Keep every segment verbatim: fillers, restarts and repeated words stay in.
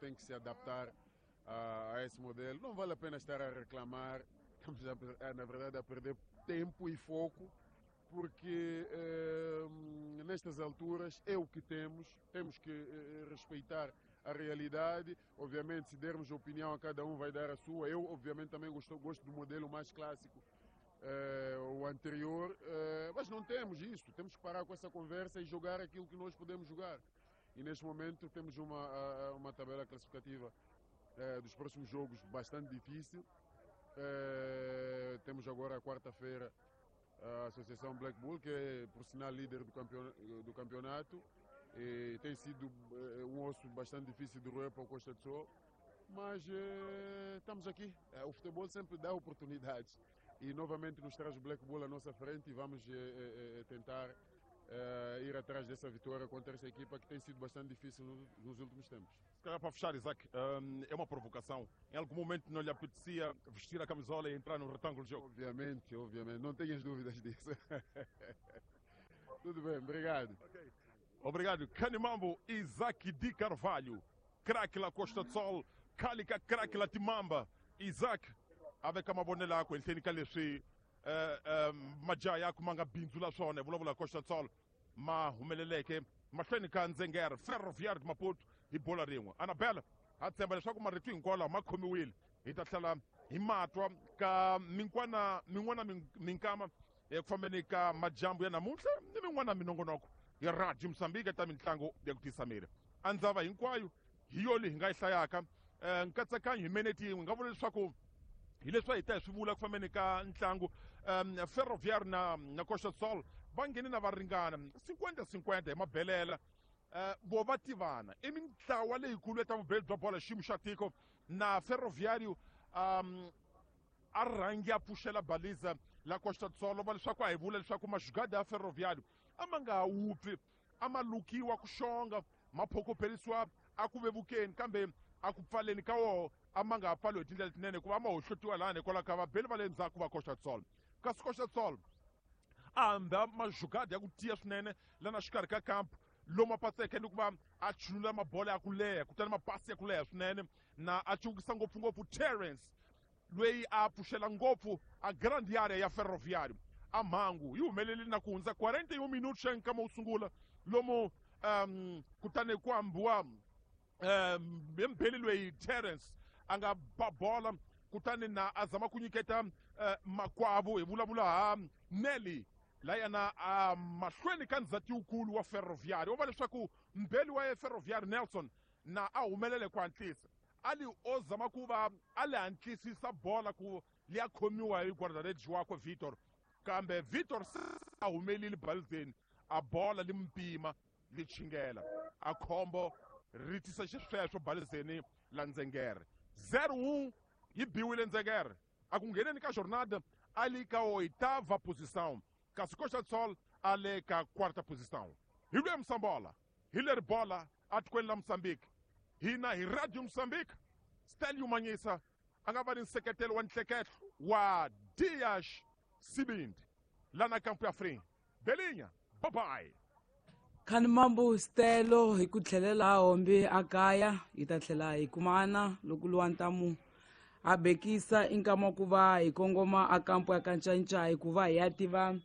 tem que se adaptar a, a esse modelo. Não vale a pena estar a reclamar, estamos, a, a, na verdade, a perder tempo e foco, porque eh, nestas alturas é o que temos, temos que eh, respeitar a realidade. Obviamente, se dermos opinião a cada um, vai dar a sua. Eu, obviamente, também gosto, gosto do modelo mais clássico, eh, o anterior, eh, mas não temos isso. Temos que parar com essa conversa e jogar aquilo que nós podemos jogar. E neste momento temos uma, uma tabela classificativa eh, dos próximos jogos bastante difícil. Eh, temos agora a quarta-feira a Associação Black Bull, que é, por sinal, líder do, campeon do campeonato, e tem sido um osso bastante difícil de roer para o Costa do Sol, mas eh, estamos aqui. O futebol sempre dá oportunidades e novamente nos traz o Black Bull à nossa frente e vamos eh, eh, tentar eh, ir atrás dessa vitória contra essa equipa que tem sido bastante difícil no, nos últimos tempos. Se calhar para fechar, Isaac, um, é uma provocação. Em algum momento não lhe apetecia vestir a camisola e entrar no retângulo de jogo? Obviamente, obviamente. Não tenhas dúvidas disso. Tudo bem, obrigado. Okay. Obrigado. Canimambo, Isaac de Carvalho, craque la Costa do Sol, Calica craque la Timamba. Isaac, avec mavonelo yakwe ehenhleni ka leswi majaha ya ku ma nga bindzula swona hi vulavula Costa do Sol ma humeleleke mahlweni ka Ndzengere Ferroviário de Maputo hi bola rin'we. Anabela, ha tshemba leswaku marito hinkwawo lawa ma khomiwile, hi ta tlhela hi matwa ka minkwana min'wana minkama eku fambeni ka majambu ya namuntlha ni min'wana minongonoko ya Radio Moçambique ta mitlangu ya ku tisa miri. A ndzava hinkwayo hi yo leyi hi nga yi hlayaka nkatsakanyo hi minete yin'we nga vula leswaku hi leswi hi ta hi swi vula ku fambeni ka ntlangu um, Ferroviário na, na Costa do Sol va nghene na va ringana cinquenta cinquenta hi mabelela. Uh, vo va tivana i mintlawa leyikulu ya ta vubeli bya bola xiyimo xa tiko na Ferroviário um, a rhangi a pfuxela baliza la Costa do Sol va leswaku a hi vula leswaku maxugada ya Ferroviário a ma nga ha wupfi, a ma lukiwa ku xonga, ma phokopherisiwa a ku vevukeni kambe a ku pfaleni ka woho a ma nga ha pfaliwi hi tindlela letinene hikuva a ma hohlotiwa lani hikwalaho ka vabeli va le ndzhaku va Costa do Sol. Kasi Costa do Sol a hamba maxugada ya ku tiya swinene lana xikarhi ka kampu lomu a patseke ni ku va a chulula mabola ya ku leha kutani mapasi ya ku leha swinene na a cukisa ngopfungopfu Terence loyi a pfuxela ngopfu a grand area ya Ferroviário. A mhangu yi humelele na ku hundza quarenta e um minutos xa nkama wo sungula lomu um, kutani ku ambiwa um, mbeli loyi Terence a nga ba bola kutani na a zama ku nyiketa uh, makwavo hi vulavula ha Nelly layana a mahlweni ka ndzhati wukulu wa Ferroviário. Wo va leswaku mbeli wa Ferroviário Nelson na a humelele ku hatlisa a li o zama ku va a li hatlisisa bola ku liya khomiwa hi guarda-redes wakwe Vitor, kambe Vitor a humelile balizeni a bola li mpima li chingela a khombo ri tisa xisweswo balizeni la Ndzengere. zero um yi biwile Ndzengere a ku ngheneni ka jornada a li ka oitava posição, kasi Costa do Sol a le ka quarta posição. Hi lweya Msambola, hi leri bola atikweni la Moçambique. Hina hi Radio Moçambique, Stelio Manyisa a nga va ni nseketelo wa ntleketlo wa Dias Sibindi lana kampu ya Free. Belinha, bye bye. Khanimambo Stelo hi ku tlhelela hombi a kaya hi ta tlhela hi kumana loko luwa ntamu a bekisa i nkama wa ku va hi kongoma a kampu ya Kanchanchai ku va hi ya tiva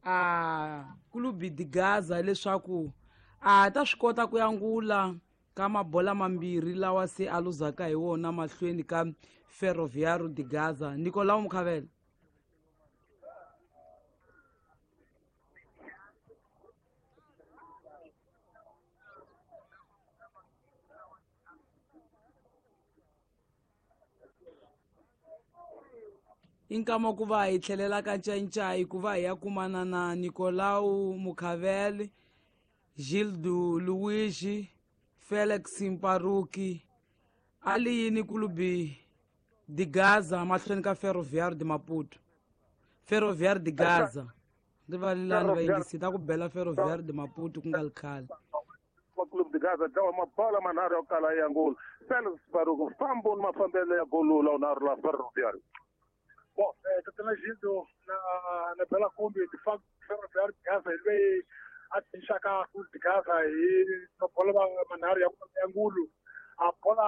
a Clube de Gaza leswaku a ta swi kota ku yangula ka mabola mambirhi lawa se a luzaka hi wona mahlweni ka Ferroviário de Gaza. Nicolau Mukhavela. I nkama ku va hi tlhelela ka Ncancai ku va hi ya kumana na Nicolau Mukhavele, Gildo Luigi, Felix Mparuki, a li yini Clube de Gaza mahlweni ka Ferroviário de Maputo. Ferroviário de Gaza. Rivalelani vayingisi ta ku bela Ferroviário de Maputo ku nga li khale. Clube de Gaza dlawa mabola manharhu ya ku kala ya ngolo. Felix Mparuki fambo ni mafambelo ya golo la unharhu la Ferroviário. Bom, é, Tatana Gildo, na, na Bela Kombi, de facto, Ferroviário de Gaza, ele veio a tinxaka Clube de Gaza e na bola manharhu ya ngulu. A bola